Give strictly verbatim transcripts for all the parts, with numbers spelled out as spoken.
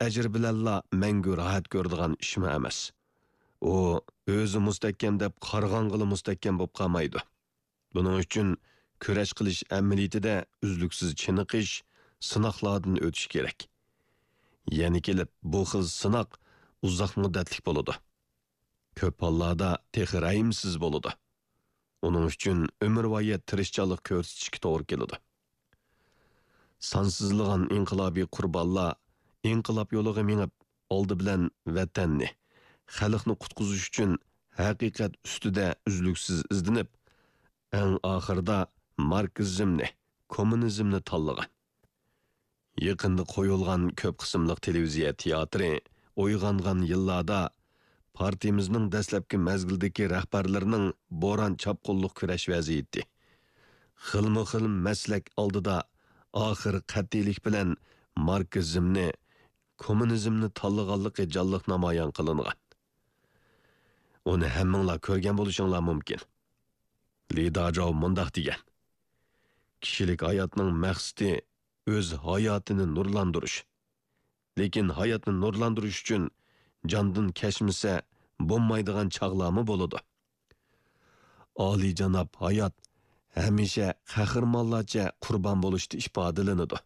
ئەجىر بىلەنلا مەڭگۈ راھەت كۆرىدىغان ئىشمۇ ئەمەس. ئۇ ئۆزى مۇستەھكەم دەپ قارىغانغىلا مۇستەھكەم بولۇپ قالمايدۇ. بۇنىڭ ئۈچۈن كۈرەش قىلىش ئەمەلىيىتىدە ئۈزلۈكسىز چېنىقىش، سىناقلاردىن ئۆتۈش كېرەك. يەنە كېلىپ، بۇ خىل سىناق ئۇزاق مۇددەتلىك بولىدۇ. كۆپ ھاللاردا تېخى رەھىمسىز بولىدۇ. ئۇنىڭ ئۈچۈن ئۆمۈرۋايەت تىرىشچانلىق كۆرسىتىشكە توغرا كېلىدۇ. سانسىزلىغان ئىنقىلابىي قۇربانلار ئىنقىلاب يولىغا مېڭىپ، ئالدى بىلەن ۋەتەننى، خەلقنى قۇتقۇزۇش ئۈچۈن ھەقىقەت ئۈستىدە ئۈزلۈكسىز ئىزدىنىپ، ئەڭ ئاخىرىدا ماركسىزمنى، كوممۇنىزمنى تاللىغان. يېقىندا قويۇلغان كۆپ قىسىملىق تېلېۋىزىيە تىياتىرى ئويغانغان يىللاردا پارتىيىمىزنىڭ دەسلەپكى مەزگىلدىكى رەھبەرلىرىنىڭ بوران-چاپقۇنلۇق كۈرەش ۋەزىيىتى، خىلمۇ خىل مەسلەك ئالدىدا ئاخىر قەتئىيلىك بىلەن ماركسىزمنى، كوممۇنىزمنى تاللىغانلىقى جانلىق نامايان قىلىنغان. ئۇنى ھەممىڭلار كۆرگەن بولۇشۇڭلار مۇمكىن. لى داجاۋ مۇنداق دېگەن: «كىشىلىك ھاياتنىڭ مەقسىتى ئۆز ھاياتىنى نۇرلاندۇرۇش. لېكىن ھاياتنى نۇرلاندۇرۇش ئۈچۈن جاندىن كەچمىسە بولمايدىغان چاغلارمۇ بولىدۇ.» ئالىيجاناب ھايات ھەمىشە قەھرىمانلارچە قۇربان بولۇشتا ئىپادىلىنىدۇ.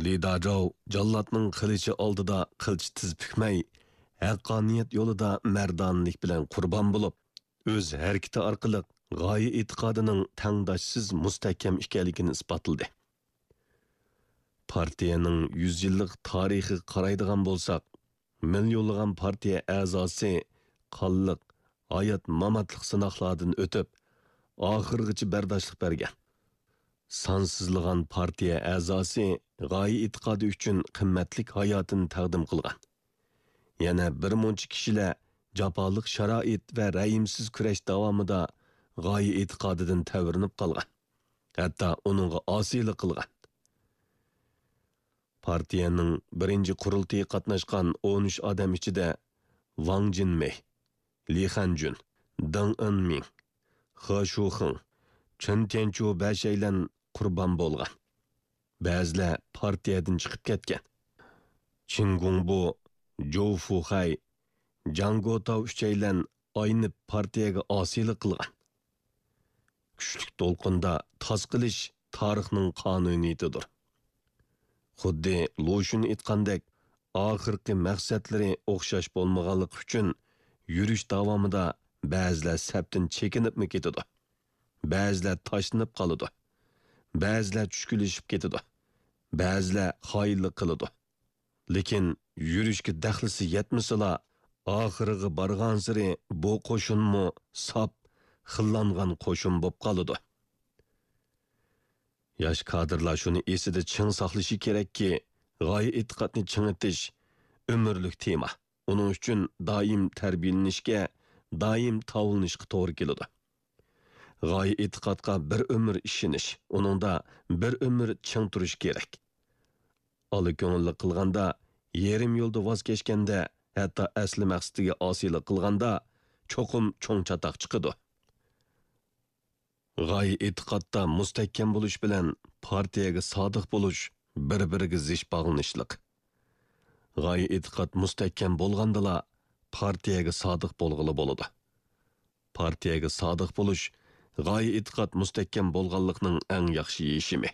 لى داجاۋ جاللاتنىڭ قىلىچى ئالدىدا قىلچە تىز پۈكمەي، ھەققانىيەت يولىدا مەردانىلىك بىلەن قۇربان بولۇپ، ئۆز ھەرىكىتى ئارقىلىق غايە ئېتىقادىنىڭ تەڭداشسىز مۇستەھكەم ئىكەنلىكىنى ئىسپاتلىدى. پارتىيەنىڭ يۈز يىللىق تارىخىغا قارايدىغان بولساق، مىليونلىغان پارتىيە ئەزاسى قانلىق، ھايات-ماماتلىق سىناقلاردىن ئۆتۈپ، ئاخىرغىچە بەرداشلىق بەرگەن. سانسىزلىغان پارتىيە ئەزاسى غايە ئېتىقادى ئۈچۈن قىممەتلىك ھاياتىنى تەقدىم قىلغان. يەنە بىر مۇنچە كىشىلەر جاپالىق شارائىت ۋە رەھىمسىز كۈرەش داۋامىدا غايە ئېتىقادىدىن تەۋرىنىپ قالغان، ھەتتا ئۇنىڭغا ئاسىيلىق قىلغان. پارتىيەنىڭ بىرىنچى قۇرۇلتىيىغا قاتناشقان ئون ئۈچ ئادەم ئىچىدە ۋاڭ جىنمېي، لى خەنجۈن، دېڭ ئېنمىڭ، خې شۇخېڭ، چېن تيەنچۇ بەشەيلەن قۇربان بولغان. بەزىلەر پارتىيەدىن چىقىپ كەتكەن. چېن گۇڭبۇ، جوۋ فۇخەي، جاڭ گوتاۋ ئۈچەيلەن ئاينىپ پارتىيەگە ئاسىيلىق قىلغان. كۈچلۈك دولقۇندا تاس قىلىش تارىخنىڭ قانۇنىيىتىدۇر. خۇددى لۇشۈن ئېيتقاندەك، ئاخىرقى مەقسەتلىرى ئوخشاش بولمىغانلىقى ئۈچۈن، يۈرۈش داۋامىدا بەزىلەر سەپتىن چېكىنىپمۇ كېتىدۇ، بەزىلەر تاشلىنىپ قالىدۇ، بەزىلەر چۈشكۈنلىشىپ كېتىدۇ، بەزىلەر خائىنلىق قىلىدۇ. لېكىن يۈرۈشكە دەخلىسى يەتمىسىلا، ئاخىرىغا بارغانسېرى بۇ قوشۇنمۇ ساپ، خىللانغان قوشۇن بولۇپ قالىدۇ. ياش كادىرلار شۇنى ئېسىدە چىڭ ساقلىشى كېرەككى، غايە ئېتىقادنى چىڭىتىش ئۆمۈرلۈك تېما. ئۇنىڭ ئۈچۈن دائىم تەربىيەلىنىشكە، دائىم تاۋلىنىشقا توغرا كېلىدۇ. غايە ئېتىقادقا بىر ئۆمۈر ئىشىنىش، ئۇنىڭدا بىر ئۆمۈر چىڭ تۇرۇش كېرەك. ئالا كۆڭۈللۈك قىلغاندا، يېرىم يولدا ۋاز كەچكەندە، ھەتتا ئەسلى مەقسىتىگە ئاسىيلىق قىلغاندا، چوقۇم چوڭ چاتاق چىقىدۇ. غايە ئېتىقادتا مۇستەھكەم بولۇش بىلەن پارتىيەگە سادىق بولۇش بىر-بىرىگە زىچ باغلىنىشلىق. غايە ئېتىقاد مۇستەھكەم بولغاندىلا، پارتىيەگە سادىق بولغىلى بولىدۇ. پارتىيەگە سادىق بولۇش غايە ئېتىقاد مۇستەھكەم بولغانلىقنىڭ ئەڭ ياخشى يېشىمى.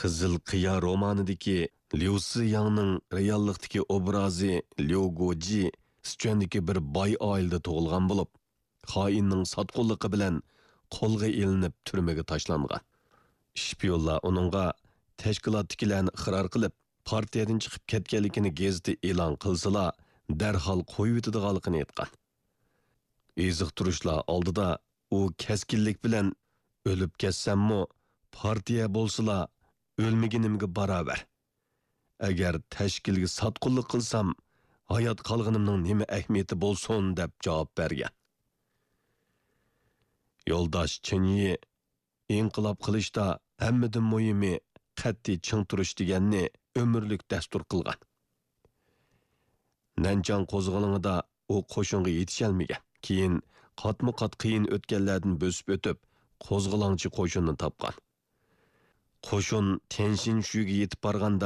قىزىل قىيا رومانىدىكى ليۇ سىياڭنىڭ رېئاللىقتىكى ئوبرازى ليۇ گوجى سىچۈەندىكى بىر باي ئائىلىدە تۇغۇلغان بولۇپ، خائىننىڭ ساتقۇنلۇقى بىلەن قولغا ئېلىنىپ تۈرمىگە تاشلانغان. شپىيونلار ئۇنىڭغا تەشكىلاتتىكىلەرنى ئىقرار قىلىپ، پارتىيەدىن چىقىپ كەتكەنلىكىنى گېزىتتە ئېلان قىلسىلا، دەرھال قويۇۋېتىدىغانلىقىنى ئېيتقان. ئېزىقتۇرۇشلار ئالدىدا ئۇ كەسكىنلىك بىلەن، «ئۆلۈپ كەتسەممۇ، پارتىيە بولسىلا، ئۆلمىگىنىمگە باراۋەر. ئەگەر تەشكىلگە ساتقۇنلۇق قىلسام، ھايات قالغىنىمنىڭ نېمە ئەھمىيىتى بولسۇن؟» دەپ جاۋاب بەرگەن. يولداش چېن يى ئىنقىلاب قىلىشتا ھەممىدىن مۇھىمى قەتئىي چىڭ تۇرۇش دېگەننى ئۆمۈرلۈك دەستۇر قىلغان. نەنچاڭ قوزغىلىڭىدا ئۇ قوشۇنغا يېتىشەلمىگەن. كېيىن قاتمۇ قات قىيىن ئۆتكەللەردىن بۆسۈپ ئۆتۈپ، قوزغىلاڭچى قوشۇننى تاپقان. قوشۇن تيەنشىنشۈيگە يېتىپ بارغاندا،